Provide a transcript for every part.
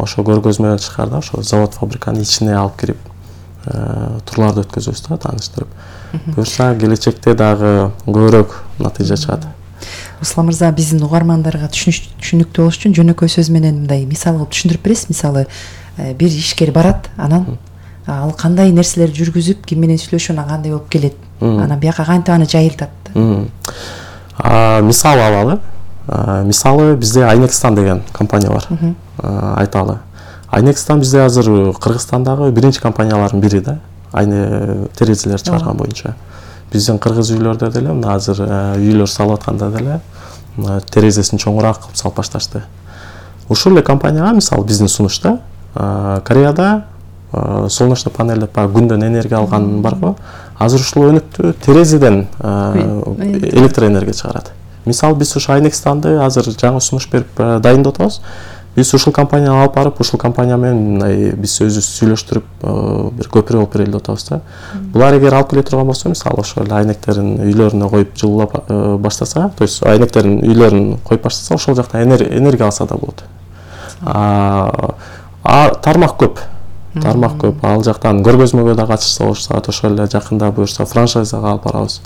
ошо көргөзмө менен чыкканда ошо завод фабриканын ичине алып кирип турларды өткөзөбүз да, тааныштырып. Буюрса келечекте дагы көбүрөөк натыйжа чыгат. Руслан мырза, биздин угармандарга түшүнүктүү болуш үчүн жөнөкөй сөз менен мындай мисал кылып түшүндүрүп бересиз? Мисалы, бир ишкер барат, анан ал кандай нерселер жүргүзүп, ким менен сүйлөшүп, анан кандай болуп келет. Анан бияка кантип аны жайылтат. Мисал алалы. Мисалы бизде Айнекстан деген компания бар. Айталы. Айнекстан бизде азыр Кыргызстандагы биринчи компаниялардын бири да. Айне терезелер чыгарган боюнча. Биздин кыргыз үйлөрдө деле мына азыр үйлөр салып атканда деле терезесин чоңураак кылып салып башташты. Ушул эле компанияга мисалы биздин сунушта Кореяда солнечный панель деп күндөн энергия алган барго, азыр ушул өнүктү терезеден электроэнергия чыгарат. Мисалы биз ушу Айнекстанды азыр жаңы сунуш берип дайындап атабыз. Биз ушул компанияга алып барып, ушул компания менен биз өзүбүз сүйлөштүрүп бир көпүрө болуп берели деп атабыз да. Булар эгер алып келе турган болсо, мисалы ошол эле айнектерин үйлөрүнө коюп жылуулап баштаса, то есть айнектерин үйлөрүн коюп баштаса, ошол жакта энергия алса да болот. Тармак көп. Ал жактан көргөзмөгө да катышса болушат, ошол эле жакында буюрса франшизага алып барабыз.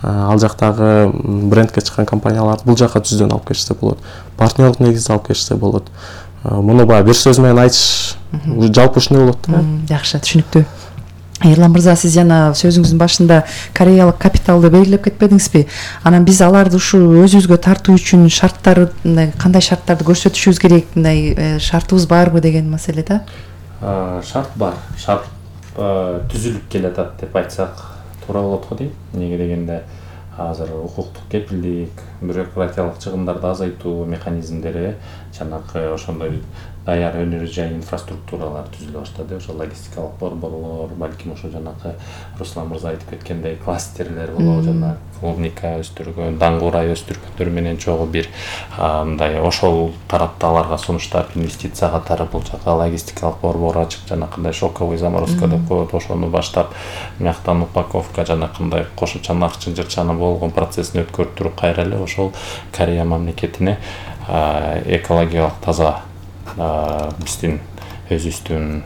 Ал жактагы брендке чыккан компанияларды бул жака түздөн алып келишсе болот. Партнерлык негизде алып келишсе болот. Муну баягы бир сөз менен айтыш жалпы ушундай болот да. Жакшы, түшүнүктүү. Эрлан мырза, сиз жана сөзүңүздүн башында кореялык капиталды белгилеп кетпедиңизби? Анан биз аларды ушу өзүбүзгө тартуу үчүн шарттары, кандай шарттарды көрсөтүшүбүз керек, мындай шартыбыз барбы деген маселе да? Шарт бар. Шарт түзүлүп келатат деп айтсак туура болот го дейм. Эмнеге дегенде азыр укуктук кепилдик, бюрократиялык чыгымдарды азайтуу механизмдери жанакы ошондой даяр өнөр жай инфраструктуралар түзүлө баштады. Ошо логистикалык борборлор, балким ошо жанакы Руслан мырза айтып кеткендей кластерлер болобу, жана клубника өстүргөн, даңгуурай өстүргөндөр менен чогуу бир мындай ошол тарапта аларга сунуштап инвестиция катары бул жака логистикалык борбор ачып, жанакындай шоковый заморозка деп коет, ошону баштап, мияктан упаковка жанакындай кошумча наркчын жырчаны болгон процессин өткөртүп кайра эле ошол Корея мамлекетине экологиялык таза биздин өзүбүздүн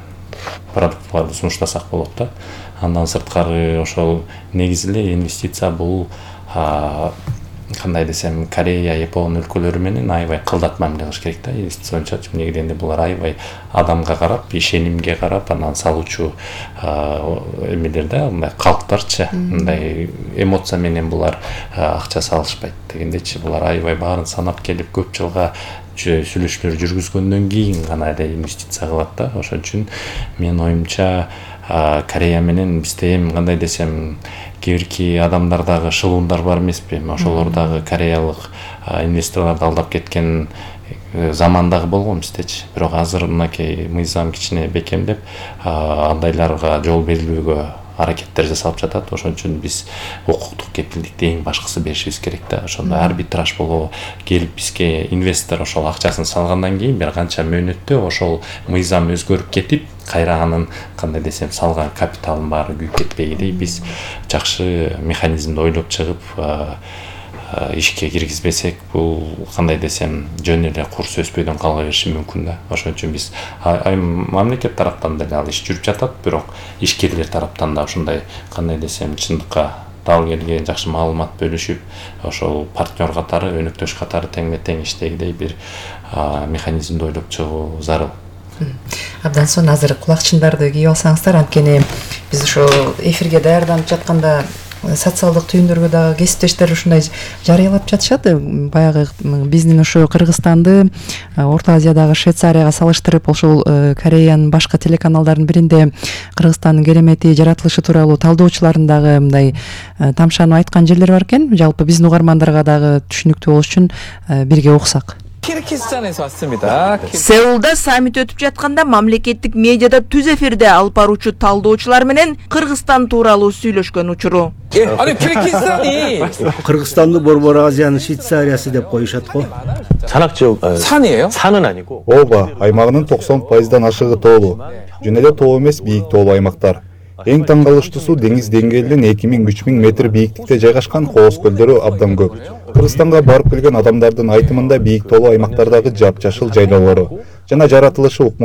продуктларды сунуштасак болот да. Андан сырткары ошол негизи эле инвестиция бул кандай десем, Корея, Япон өлкөлөрү менен аябай кылдат мамиле кылыш керек да. Инвестиция боюнча эмнеге дегенде булар аябай адамга карап, ишенимге карап, анан салуучу эмелер да, мындай калктарчы, мындай эмоция менен булар акча салышпайт дегендечи. Булар аябай баарын санап келип көп жылга сүйлөшүүлөр жүргүзгөндөн кийин гана эле инвестиция кылат да. Ошон үчүн менин оюмча Корея менен бизде эми кандай десем, кийинки адамдардагы шылуундар бар эмеспи? Ошолор дагы кореялык инвесторлорду алдап кеткен замандагы болгон биздечи. Бирок азыр мынакей мыйзам кичине бекемдеп, андайларга жол берилүүгө аракеттер жасалып жатат. Ошон үчүн биз укуктук кепилдикти эң башкысы беришибиз керек да. Ошондо арбитраж болобу, келип бизге инвестор ошол акчасын салгандан кийин бир канча мөөнөттө ошол мыйзам өзгөрүп кетип, кайра анын кандай десем салган капиталын баары күйүп кетпегидей биз жакшы механизмди ойлоп чыгып ишке киргизбесек, бул кандай десем жөн эле курс өспөйдөн кала бериши мүмкүн да. Ошон үчүн биз мамлекет тараптан деле ал иш жүрүп жатат, бирок ишкерлер тараптан да ушундай кандай десем чындыкка дал келген жакшы маалымат бөлүшүп, ошол партнер катары, өнөктөш катары теңме тең иштегидей бир механизмди ойлоп чыгуу зарыл. Абдан сонун, азыр кулакчындарды кийип алсаңыздар, анткени биз ошо эфирге даярданып жатканда социалдык түйүндөргө дагы кесиптештер ушундай жарыялап жатышат. Баягы биздин ошо Кыргызстанды Орто Азиядагы Швейцарияга салыштырып, ошол Кореянын башка телеканалдардын биринде Кыргызстандын керемети жаратылышы тууралуу талдоочулардын дагы мындай тамшанып айткан жерлер бар экен. Жалпы биздин угармандарга дагы түшүнүктүү болуш үчүн бирге уксак. Сеулда саммит өтүп жатканда мамлекеттик медиада түз эфирде алып баруучу талдоочулар менен Кыргызстан тууралуу сүйлөшкөн учуру. Кыргызстанды Борбор Азиянын Швейцариясы деп коюшат го. 산악지역 산은 아니고 ооба, аймагынын 90%дан ашыгы тоолуу. Жөн эле тоо эмес, бийик тоолуу аймактар. Эң таң калыштуусу деңиз деңгээлинен 2000-3000 метр бийиктикте жайгашкан кооз көлдөрү абдан көп. Кыргызстанга барып келген адамдардын айтымында бийик тоолуу аймактардагы жапжашыл жайлоолору жана жаратылышы